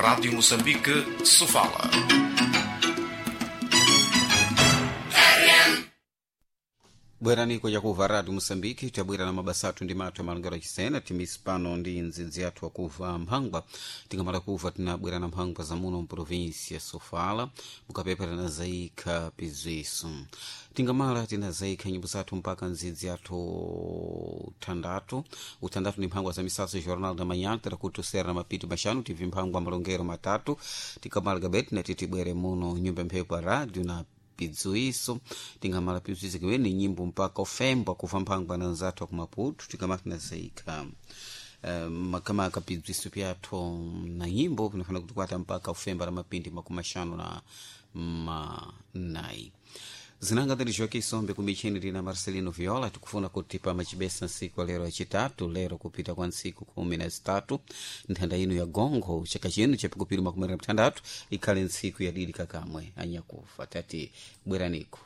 Rádio Moçambique, Sofala. Bwerani kwajakuva Radio Moçambique, tabwera na mabasa athu ndi mathu amalongero achisena timisi pano ndi ndzidzi athu akuva mphangwa. Tingamala kuva tinabwera na mphangwa za muno mprovinsia Sofala, mukapepa tinazayikha pizwiso, tingamala tinazayikha nyimbo zathu mpaka ndzidzi athu thandatu uthandatu ndi mphangwa za misaso Jornal da Manhã tirakutusera na mapiti maxanu tv mphangwa malongero matatu. Tikamala gabeti nati tibwere muno nyumba mphepo ya radio na pidzuiso, tingamala pidzuiso kimene nyimbo mpaka ofemba kuva mphangwa na nzathu akumaputu. Tikamala tinazayikha makamaka pidzuiso pyathu na nyimbo pinafana kutikwata mpaka ufemba la mapindi 50 na manayi. Zinanga tili Joaquim Sombe kumicheni lina Marcelino Viola, tikufuna kuti pamachibesa ntsiku lero yachitatu, lero kupita kwa ntsiku 13 nthanda ino ya gongo chaka chino chapikupiri 16 ikhale ntsiku yadidi kakamwe anyakufa tati bweraniko.